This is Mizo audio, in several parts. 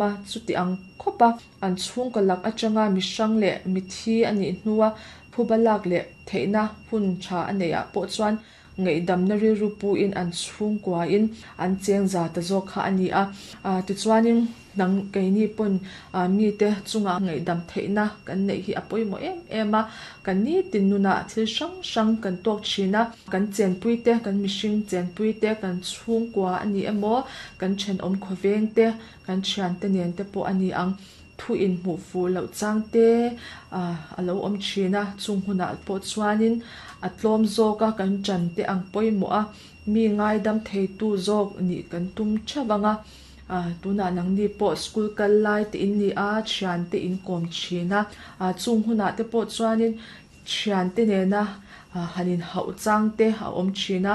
A, chuti ang khawp a, an chhungkaw lak atanga mi hrang leh mithi a nih hnua phuba lak leh theihna hun tha a neih ah pawh chuan ngaihdamna rilru puin an chhungkuain an cheng za ta zawk kha a ni a. Tichuanin nang keini pawn mite chunga ngaihdam theihna kan neih hi a pawimawh em em a, kan nitin nunah thil hrang hrang kan tawk thin a, kan chenpuite, kan mihring chenpuite, kan chhungkua a ni emaw, kan thenawm khawvengte, Kan thiante nen te pawh a ni ang. Thu inhmuh fuh loh chang te a lo awm thin a, chung hunah pawh chuanin a tlawm zawk a, kan ṭan te ang pawimawh a, mi ngaidam theitu zawk nih kan tum theuh ang a. Tunah nangni pawh school kal lai te in ni a, thiante in kawm thin a, chung hunah te pawh chuanin Thiante nena han inhauh chang te a awm thin a,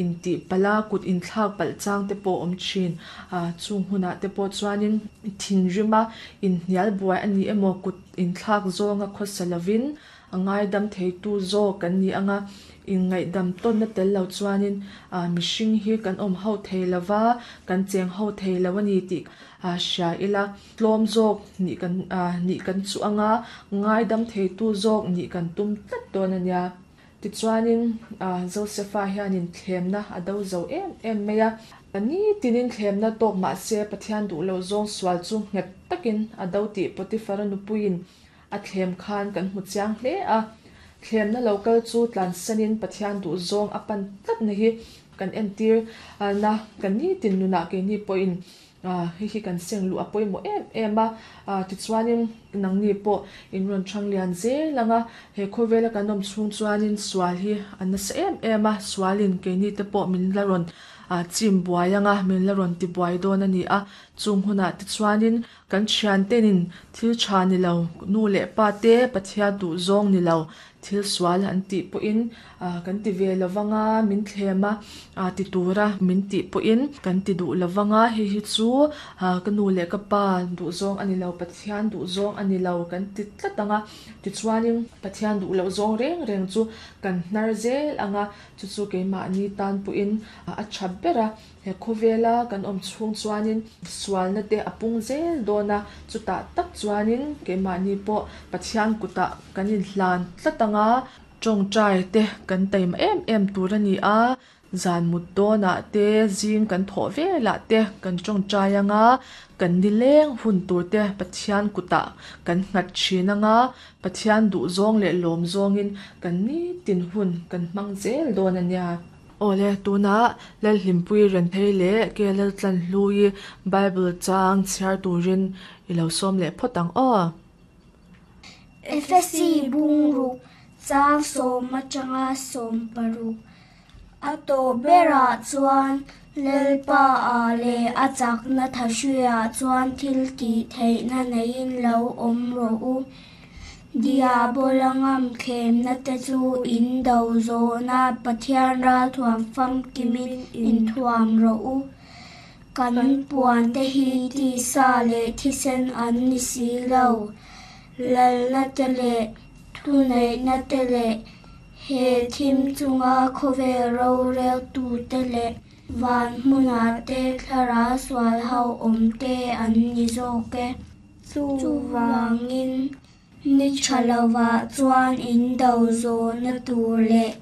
intih palh a, kut inthlak palh chang te pawh a awm thin. Chung hunah te pawh chuanin thinrim a, inhnial buai a ni emaw, kut inthlak zawnga khawsa lovin a ngaidam theitu zawk kan ni ang a, inngaihdam tawnna tel lo chuanin mihring hi kan awm ho thei lo va, kan cheng ho thei lo a ni tih hria ila. Tlawm zawk nih kan nih kan chuh anga ngaidam theitu zawk nih kan tum tlat dawn a nia. Tichuanin Josefa hianin thlemna a do zo em em mai a. Nitinin thlemna tawk mah se Pathian duh loh zawng sual chu nghet takin a do tih Potiphara nupuiin a thlem khan kan hmu chiang hle a. Thlemna lo kal chu tlansanin Pathian duh zawng a pan tlatna hi kan entir na kan nitin nunah keini pawhin Hei hi kan seng luh a pawimawh em em a, tichuanin nangni pawh in rawn chhang lian zel ang a, he khawvela kan awm chhung chuanin sual hi a nasa em em a, sualin keini te pawh min la rawn chim buai ang a, min la rawn ti buai dawn a ni a, chung hunah tichuanin kan thiantenin thil tha ni lo, nu leh pa te Pathian duh zawng ni lo, Thil sual an tih pawhin kan ti ve lo vang a, min thlem a ti tura min tih pawhin kan ti duh lo vang a, hei hi chu ka nu leh ka pa duhzawng a ni lo, Pathian duhzawng a ni lo kan ti tlat ang a. Tichuanin Pathian duh loh zawng reng reng chu kan hnar zel ang a, chu chu keimahni tan pawhin a tha ber a. He khawvela kan awm chhung chuanin sualna te a pung zel dawn a, chutah tak chuanin keimahni pawh Pathian kutah kan inhlan tlat ang a, tawngtai te kan taima em em tur a ni a, zan mut dawnah te zing kan thawh velah te kan tawngtai ang a, kan nileng hun tur te Pathian kutah kan nghat thin ang a, Pathian duhzawng leh lawmzawngin kan nitin hun kan hmang zel dawn a nia. Awle, tunah Lalhlimpui Renthei leh KLL Tlanhlui Bible chang chhiar turin i lo sawm leh phawt ang aw. Efesi bungruk chang sawm atanga 60 a tawh berah chuan Lalpa ah leh a chakna thahruiah chuan thil tih theihna neiin lo awm rawh u. Diabola ngamthlemna te chu in do zawhna Pathian ralthuam famkimin inthuam rawh u. Kan puante hi tisa leh thisen an ni si lo. Lalna te leh thuneihna te leh he thim chunga khawvel roreltute leh van hmunah te thlarau sual ho awm te an ni zawk e. Chuvangin, ni tha lovah chuan in do zawhna tur leh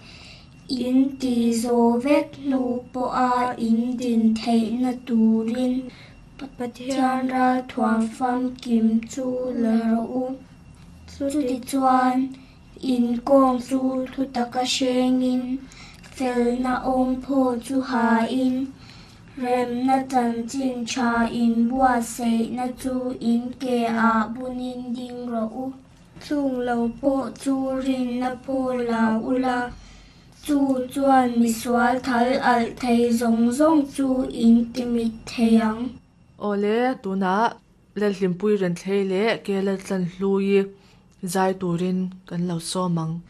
in ti zawh vek hnu pawha in din theihna turin Pathian ralthuam famkim chu la rawh u. Chutichuan, in kawng chu thutaka hrengin, felna awmphaw chu hain, Remna chanchin tha in buatsaihna chu in ke ah bunin ding rawh u. Chung lo pawh chu rinna phaw la ula, chu chuan misual thal alh thei zawng zawng chu in timit thei ang. Awle, tunah Lalhlimpui Renthlei leh Kelaltlanhlui zai turin kan lo sawm ang.